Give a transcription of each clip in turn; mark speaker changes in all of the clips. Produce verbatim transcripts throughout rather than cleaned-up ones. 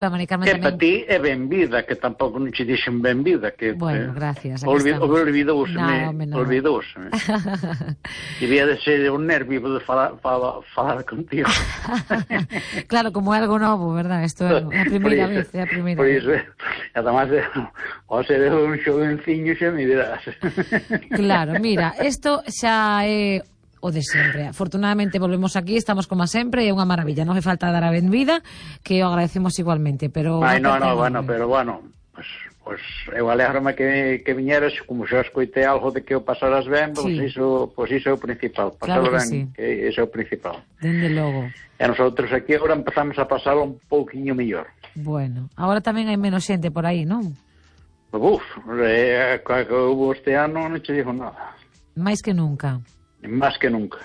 Speaker 1: Que para ti é ben vida, que tampouco non che dixen ben vida, que
Speaker 2: bueno, gracias.
Speaker 1: Olvidouseme, olvidouseme. Debía de ser un nervio de falar, falar, falar contigo.
Speaker 2: Claro, como é algo novo, verdad? Isto é a primeira vez, é a primeira
Speaker 1: vez. Por iso, además, ao ser un xovenciño xa me dirás.
Speaker 2: Claro, mira, isto xa é o de sempre. Afortunadamente volvemos aquí, estamos como sempre, é unha maravilla, non fai falta dar a benvida, que o agradecemos igualmente, pero...
Speaker 1: Ai, non, non, bueno, pero bueno, pues, pues eu alégrome que, que viñeras, como xa escoitei algo de que o pasaras ben, pues sí. iso, pues iso é o principal, pasalo
Speaker 2: claro que
Speaker 1: ben,
Speaker 2: sí.
Speaker 1: que iso é o principal.
Speaker 2: Dende logo.
Speaker 1: E nosotros aquí agora empezamos a pasalo un pouquiño mellor.
Speaker 2: Bueno, agora tamén hai menos xente por aí, non?
Speaker 1: Uf, é, que houve este ano non che digo nada.
Speaker 2: Mais que nunca.
Speaker 1: Más que nunca.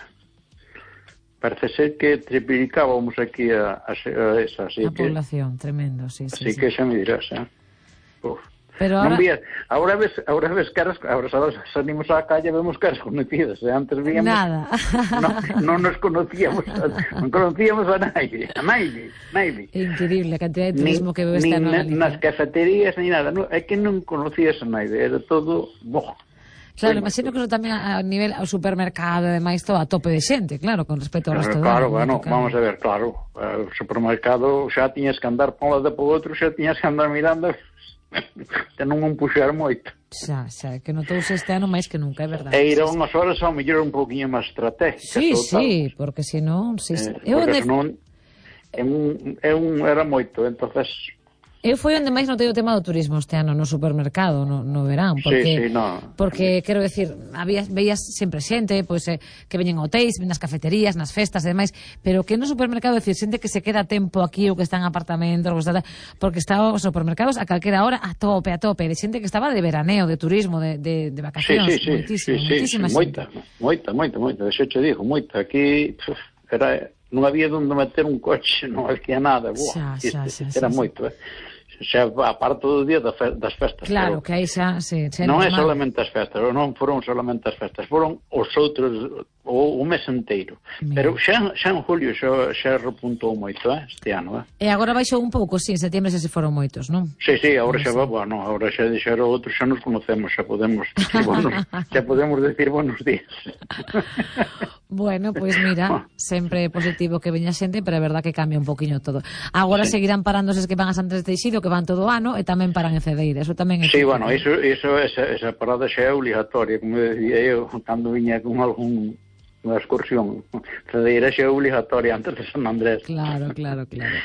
Speaker 1: Parece ser que triplicábamos aquí a, a, a esa. Así
Speaker 2: a
Speaker 1: que,
Speaker 2: población, tremendo, sí, sí.
Speaker 1: Así
Speaker 2: sí.
Speaker 1: que xa me dirás, eh? Uf.
Speaker 2: Pero ahora...
Speaker 1: Non vías, ahora ves, ahora ves caras, ahora salimos á calle e vemos caras conocidas, eh? Antes víamos...
Speaker 2: Nada.
Speaker 1: Non no nos conocíamos, non conocíamos a nadie, a nadie, nadie.
Speaker 2: Increíble a cantidad de turismo
Speaker 1: ni,
Speaker 2: que veo esta
Speaker 1: ano.
Speaker 2: Ni
Speaker 1: nas cafeterías, ni nada, no, é que non conocías a nadie, era todo... Boh.
Speaker 2: Claro, imagino que eso tamén a nivel ao supermercado e demais todo a tope de xente, claro, con respecto ao resto do
Speaker 1: Claro,
Speaker 2: ano.
Speaker 1: bueno, vamos a ver, claro, o supermercado xa tiñas que andar por un lado e por outro, xa tiñas que andar mirando, te non un puxar moito.
Speaker 2: Xa, xa, que notouse este ano máis que nunca, é verdade.
Speaker 1: E ir a unhas horas ao mellor un poquinho máis estratégica.
Speaker 2: Sí, sí, porque senón... Si,
Speaker 1: eh, porque senón é un, é un, era moito, entonces...
Speaker 2: Eu foi onde máis notei o tema do turismo este ano no supermercado, no, no verán, porque,
Speaker 1: sí, sí, no.
Speaker 2: porque quero decir, había, veías sempre xente, pois, eh, que veñen a hotéis, nas cafeterías, nas festas e demais, pero que no supermercado, decir, xente que se queda tempo aquí ou que está en apartamentos, porque está os supermercados a calquera hora a tope, a tope, de xente que estaba de veraneo, de turismo, de, de, de vacacións,
Speaker 1: sí, sí,
Speaker 2: moitísimo,
Speaker 1: sí,
Speaker 2: moitísima
Speaker 1: sí,
Speaker 2: sí,
Speaker 1: moita, moita, moita, moita, deixo che digo, moita, aquí puf, era, non había onde meter un coche, non había nada, buah,
Speaker 2: xa, xa, xa,
Speaker 1: era
Speaker 2: xa,
Speaker 1: moito, eh. Xa aparte do día das festas.
Speaker 2: Claro, que aí xa, sí, xa
Speaker 1: non é solamente as festas, non foron solamente as festas, foron os outros o, o mes inteiro. Mira. Pero xa, xa en julio xa, xa repuntou moito, eh, este ano, eh.
Speaker 2: E agora baixou un pouco, sí, en setembro xa se foron moitos, non?
Speaker 1: Sí, sí, agora xa va, bueno, agora xa dixeron outros, xa nos conocemos, xa podemos decir buenos, xa podemos decir buenos días.
Speaker 2: Bueno, pois pues mira, sempre positivo que veña xente, pero é verdad que cambia un poquinho todo. Agora sí. Seguirán parándose os que van a Santos de Teixido, que van todo o ano, e tamén paran en Cedeira, eso tamén é...
Speaker 1: Sí, bueno, iso, iso, esa, esa parada xa é obligatoria, como decía eu, cando viña con algún unha excursión. Cedeira xa é obligatoria antes de San Andrés.
Speaker 2: Claro, claro, claro.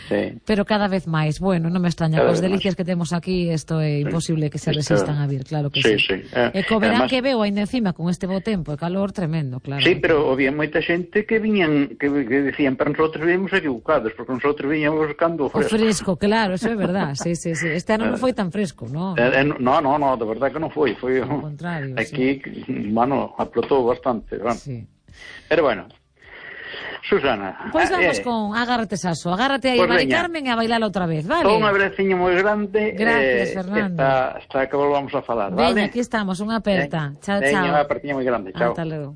Speaker 1: Sí.
Speaker 2: Pero cada vez máis, bueno, non me extraña, cos delicias que temos aquí, isto é imposible que se resistan a vir, claro que sí.
Speaker 1: Sí, sí.
Speaker 2: Eh, e co verán que veo ainda encima con este bo tempo e calor tremendo, claro.
Speaker 1: Sí, pero había moita xente que viñan, que, que decían, pero nosotros vimos equivocados, porque nosotros viñamos buscando o fresco.
Speaker 2: O fresco, claro, eso é verdad, sí, sí, sí. Este ano non foi tan fresco, non?
Speaker 1: Eh, no, no, no, de verdad que non foi, foi
Speaker 2: ao contrario,
Speaker 1: aquí,
Speaker 2: sí.
Speaker 1: Bueno, aplotou bastante, bueno.
Speaker 2: Sí.
Speaker 1: Pero bueno, Susana.
Speaker 2: Pois pues vamos eh, con Agárrate Saso. Agárrate aí, pues Mari Carmen, e a bailar outra vez, vale?
Speaker 1: Un abraciño moi grande.
Speaker 2: Gracias,
Speaker 1: eh,
Speaker 2: Fernando.
Speaker 1: Hasta, hasta que volvamos a falar,
Speaker 2: Veña,
Speaker 1: vale?
Speaker 2: aquí estamos, unha aperta.
Speaker 1: Veña,
Speaker 2: chao, chao.
Speaker 1: Veña, unha apertiña moi grande, chao.
Speaker 2: Hasta logo.